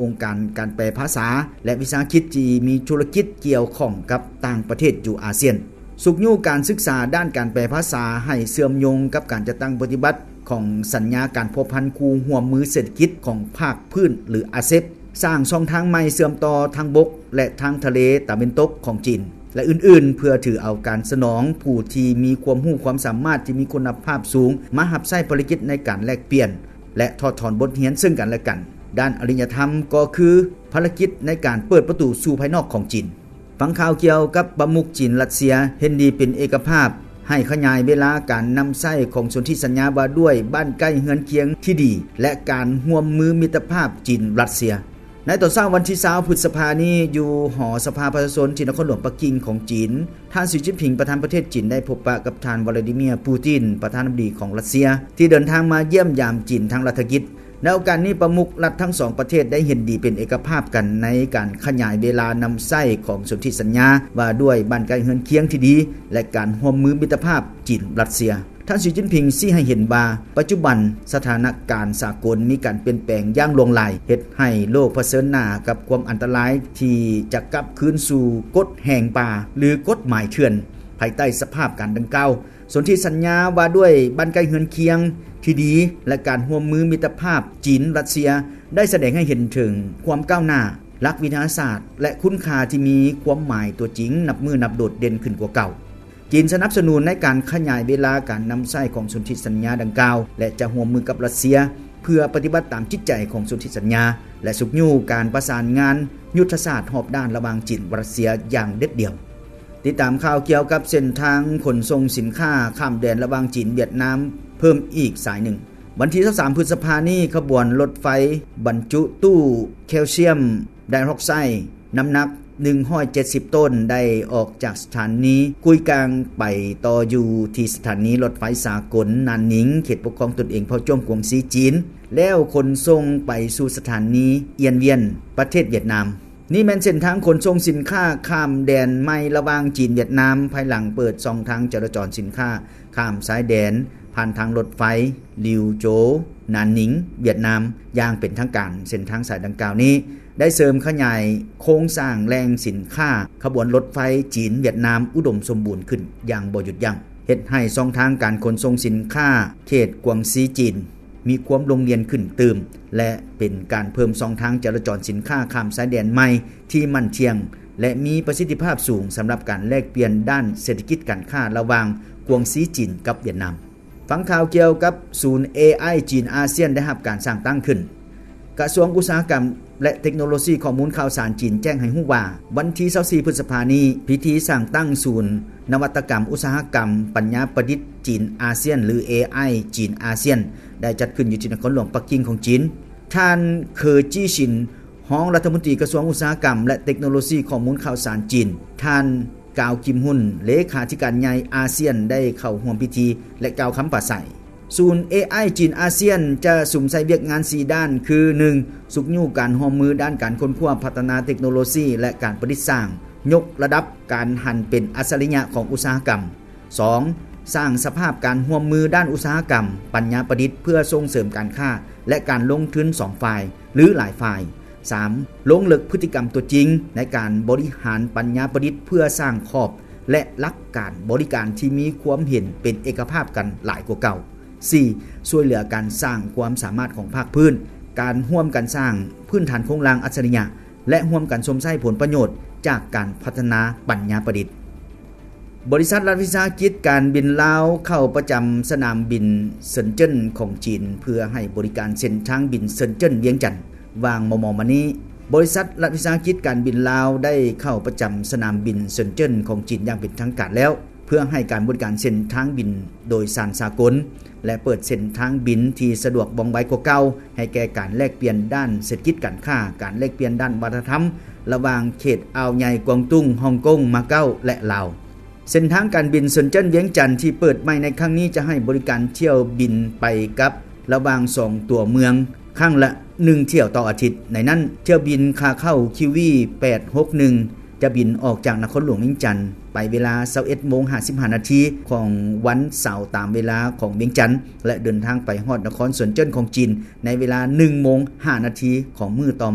ອົງການການແປພາສາ ແລະ ວິສາຫະກິດທີ່ມີທຸລະກິດກ່ຽວຂ້ອງກັບຕ່າງປະເທດຢູ່ອາຊຽນ. ຊຸກຍູ້ການສຶກສາດ້ານການແປພາສາໃຫ້ເຊື່ອມໂຍງກັບການຈັດຕັ້ງປະຕິບັດຂອງສັນຍາການພົວພັນຄູ່ຮ່ວມມືເສດຖະກິດຂອງພາກພື້ນ ຫຼື ອາເຊັບ, ສ້າງຊ່ອງທາງໃໝ່ເຊື່ອມຕໍ່ທາງບົກ ແລະ ທາງທະເລຕາເວັນຕົກຂອງຈີນ ແລະ ອື່ນໆ ເພື່ອຖືເອົາການສະໜອງຜູ້ທີ່ມີຄວາມຮູ້ຄວາມສາມາດທີ່ມີຄຸນນະພາບສູງມາຮັບໃຊ້ພາລະກິດໃນການແລກປ່ຽນ ແລະ ຖອດຖອນບົດຮຽນເຊິ່ງກັນແລະກັນ. ດ້ານອະລິຍະທຳກໍຄືພາລະກິດໃນການເປີດປະຕູສູ່ພາຍນອກຂອງຈີນ. ຟັງຂ່າວກ່ຽວກັບປະມຸກຈີນ-ຣັດເຊຍ ເຫັນດີເປັນເອກະພາບ ໃຫ້ຂະຫຍາຍເວລາການນຳໃຊ້ຂອງສົນທິສັນຍາວ່າດ້ວຍບ້ານໃກ້ເຮືອນຄຽງທີ່ດີ ແລະ ການຮ່ວມມືມິດຕະພາບຈີນ-ຣັດເຊຍ. ໃນຕອນເຊົ້າວັນທີຊາວ ພຶດສະພານີ້ ຢູ່ຫໍສະພາປະຊາຊົນທີ່ນະຄອນຫຼວງປັກກິ່ງຂອງຈີນ, ທ່ານ ສີ ຈິ້ນຜິງ ປະທານປະເທດຈີນ ໄດ້ພົບປະກັບທ່ານ ວລາດີເມຍ ປູຕິນ ປະທານາທິບໍດີຂອງຣັດເຊຍ ທີ່ເດີນທາງມາຢ້ຽມຢາມຈີນທາງລັດຖະກິດ. ໃນໂອກາດນີ້ ປະມຸກລັດທັງສອງປະເທດໄດ້ເຫັນດີເປັນເອກະພາບກັນໃນການຂະຫຍາຍເວລານຳໃຊ້ຂອງສົນທິສັນຍາວ່າດ້ວຍບ້ານໃກ້ເຮືອນຄຽງທີ່ດີ ແລະ ການຮ່ວມມືມິດຕະພາບຈີນ-ຣັດເຊຍ. ທ່ານ ສີ ຈິ້ນຜິງ ຊີ້ໃຫ້ເຫັນວ່າ ປັດຈຸບັນສະຖານະການສາກົນມີການປ່ຽນແປງຢ່າງຫຼວງຫຼາຍ, ເຮັດໃຫ້ໂລກຜະເຊີນໜ້າກັບຄວາມອັນຕະລາຍທີ່ຈະກັບຄືນສູ່ກົດແຫ່ງປ່າ ຫຼື ກົດໝາຍເຖື່ອນ. ພາຍໃຕ້ສະພາບການດັ່ງກ່າວ, ສົນທິສັນຍາວ່າດ້ວຍບ້ານໃກ້ເຮືອນຄຽງທີ່ດີ ແລະ ການຮ່ວມມືມິດຕະພາບຈີນ-ຣັດເຊຍ ໄດ້ສະແດງໃຫ້ເຫັນເຖິງຄວາມກ້າວໜ້າ, ຫຼັກວິທະຍາສາດ ແລະ ຄຸນຄ່າທີ່ມີຄວາມໝາຍຕົວຈິງ ນັບມື້ນັບໂດດເດັ່ນຂຶ້ນກວ່າເກົ່າ. ຈີນສະໜັບສະໜູນໃນການຂະຫຍາຍເວລາການນຳໃຊ້ຂອງສົນທິສັນຍາດັ່ງກ່າວ ແລະ ຈະຮ່ວມມືກັບຣັດເຊຍ ເພື່ອປະຕິບັດຕາມຈິດໃຈຂອງສົນທິສັນຍາ ແລະ ຊຸກຍູ້ການປະສານງານຍຸດທະສາດຮອບດ້ານລະຫວ່າງຈີນ-ຣັດເຊຍຢ່າງເດັດດ່ຽວ. ຕິດຕາມຂ່າວກ່ຽວກັບເສັ້ນທາງຂົນສົ່ງສິນຄ້າຂ້າມແດນລະຫວ່າງຈີນ-ຫວຽດນາມເພີ່ມອີກສາຍໜຶ່ງ. ວັນທີຊາວສາມ ພຶດສະພານີ້, ຂະບວນລົດໄຟບັນຈຸຕູ້ແຄວຊຽມໄດອອກໄຊ ນ້ຳໜັກໜຶ່ງຮ້ອຍເຈັດສິບໂຕນ ໄດ້ອອກຈາກສະຖານີກຸຍກາງ ໄປຕໍ່ຢູ່ທີ່ສະຖານີລົດໄຟສາກົນນານນິງ ເຂດປົກຄອງຕົນເອງເຜົ່າຈ້ວງກວາງຊີຈີນ ແລ້ວຂົນສົ່ງໄປສູ່ສະຖານີອຽນວຽນ ປະເທດຫວຽດນາມ. ນີ້ແມ່ນເສັ້ນທາງຂົນສົ່ງສິນຄ້າຂ້າມແດນໃໝ່ລະຫວ່າງຈີນ-ຫວຽດນາມ ພາຍຫຼັງເປີດຊ່ອງທາງຈະລາຈອນສິນຄ້າຂ້າມຊາຍແດນ ຜ່ານທາງລົດໄຟ ລິວໂຈ ນານນິງ ຫວຽດນາມ ຢ່າງເປັນທາງການ. ເສັ້ນທາງສາຍດັ່ງກ່າວນີ້ ໄດ້ເສີມຂະຫຍາຍໂຄງສ້າງແຫຼ່ງສິນຄ້າຂະບວນລົດໄຟຈີນ-ຫວຽດນາມ ອຸດົມສົມບູນຂຶ້ນຢ່າງບໍ່ຢຸດຢັ້ງ, ເຮັດໃຫ້ຊ່ອງທາງການຂົນສົ່ງສິນຄ້າເຂດກວາງຊີຈີນ ມີຄວາມລົງລຽນຂຶ້ນຕື່ມ ແລະ ເປັນການເພີ່ມຊ່ອງທາງຈະລາຈອນສິນຄ້າຂ້າມຊາຍແດນໃໝ່ທີ່ໝັ້ນທ່ຽງ ແລະ ມີປະສິດທິພາບສູງ ສຳລັບການແລກປ່ຽນດ້ານເສດຖະກິດການຄ້າລະຫວ່າງກວາງຊີຈີນກັບຫວຽດນາມ. ຟັງຂ່າວກ່ຽວກັບສູນ ເອໄອ ຈີນອາຊຽນໄດ້ຮັບການສ້າງຕັ້ງຂຶ້ນ. ກະຊວງອຸດສາຫະກຳ ແລະ ເຕັກໂນໂລຊີຂໍ້ມູນຂ່າວສານຈີນແຈ້ງໃຫ້ຮູ້ວ່າ ວັນທີຊາວສີ່ ພຶດສະພານີ້ ພິທີສ້າງຕັ້ງສູນນະວັດຕະກຳອຸດສາຫະກຳປັນຍາປະດິດຈີນອາຊຽນ ຫຼື ເອໄອ ຈີນອາຊຽນ ໄດ້ຈັດຂຶ້ນຢູ່ທີ່ນະຄອນຫຼວງປັກກິ່ງຂອງຈີນ. ທ່ານ ເຄີ ຈີຊິນ ຮອງລັດຖະມົນຕີກະຊວງອຸດສາຫະກຳ ແລະ ເຕັກໂນໂລຊີຂໍ້ມູນຂ່າວສານຈີນ, ທ່ານ ກາວ ກິມຮຸນ ເລຂາທິການໃຫຍ່ອາຊຽນ ໄດ້ເຂົ້າຮ່ວມພິທີ ແລະ ກ່າວຄຳປາໄສ. ສູນ ເອໄອ ຈີນອາຊຽນ ຈະສຸມໃສ່ວຽກງານສີ່ດ້ານ ຄື ໜຶ່ງ ຊຸກຍູ້ການຮ່ວມມືດ້ານການຄົ້ນຄວ້າພັດທະນາເຕັກໂນໂລຊີ ແລະ ການປະດິດສ້າງ, ຍົກລະດັບການຫັນເປັນອັດສະລິຍະຂອງອຸດສາຫະກຳ. ສອງ ສ້າງສະພາບການຮ່ວມມືດ້ານອຸດສາຫະກຳ, ປັນຍາປະດິດ ເພື່ອສົ່ງເສີມການຄ້າ ແລະ ການລົງທຶນສອງຝ່າຍ ຫຼື ຫຼາຍຝ່າຍ. ສາມ ລົງເລິກພຶດຕິກຳຕົວຈິງໃນການບໍລິຫານປັນຍາປະດິດ ເພື່ອສ້າງຂອບ ແລະ ຫຼັກການບໍລິການທີ່ມີຄວາມເຫັນເປັນເອກະພາບກັນຫຼາຍກວ່າເກົ່າ. ສີ່ ຊ່ວຍເຫຼືອການສ້າງຄວາມສາມາດຂອງພາກພື້ນ, ການຮ່ວມກັນສ້າງພື້ນຖານໂຄງລ່າງອັດສະລິຍະ ແລະ ຮ່ວມກັນຊົມໃຊ້ຜົນປະໂຫຍດຈາກການພັດທະນາປັນຍາປະດິດ. ບໍລິສັດລັດວິສາຫະກິດການບິນລາວເຂົ້າປະຈຳສະໜາມບິນເຊິນເຈິນຂອງຈີນ ເພື່ອໃຫ້ບໍລິການເສັ້ນທາງບິນເຊິນເຈິນ-ວຽງຈັນ. ວ່າງມໍ່ໆມານີ້, ບໍລິສັດລັດວິສາຫະກິດການບິນລາວໄດ້ເຂົ້າປະຈຳສະໜາມບິນເຊິນເຈິນຂອງຈີນຢ່າງເປັນທາງການແລ້ວ, ເພື່ອໃຫ້ການບໍລິການເສັ້ນທາງບິນໂດຍສານສາກົນ ແລະ ເປີດເສັ້ນທາງບິນທີ່ສະດວກວ່ອງໄວກວ່າເກົ່າ ໃຫ້ແກ່ການແລກປ່ຽນດ້ານເສດຖະກິດການຄ້າ, ການແລກປ່ຽນດ້ານວັດທະນະທຳ ລະຫວ່າງເຂດອ່າວໃຫຍ່ກວາງຕຸ້ງ, ຮ່ອງກົງ, ມາເກົ້າ ແລະ ລາວ. ເສັ້ນທາງການບິນເຊິນເຈິນ-ວຽງຈັນທີ່ເປີດໃໝ່ໃນຄັ້ງນີ້ ຈະໃຫ້ບໍລິການຖ້ຽວບິນໄປກັບລະຫວ່າງສອງຕົວເມືອງ ຄັ້ງລະໜຶ່ງຖ້ຽວຕໍ່ອາທິດ. ໃນນັ້ນ, ຖ້ຽວບິນຂາເຂົ້າ ຄິວວີ ແປດຫົກໜຶ່ງ ຈະບິນອອກຈາກນະຄອນຫຼວງວຽງຈັນໄປເວລາຊາວເອັດໂມງຫ້າສິບຫ້ານາທີຂອງວັນເສົາຕາມເວລາຂອງວຽງຈັນ ແລະ ເດີນທາງໄປຮອດນະຄອນເຊິນເຈິນຂອງຈີນໃນເວລາໜຶ່ງໂມງຫ້ານາທີຂອງມື້ຕໍ່ມາ.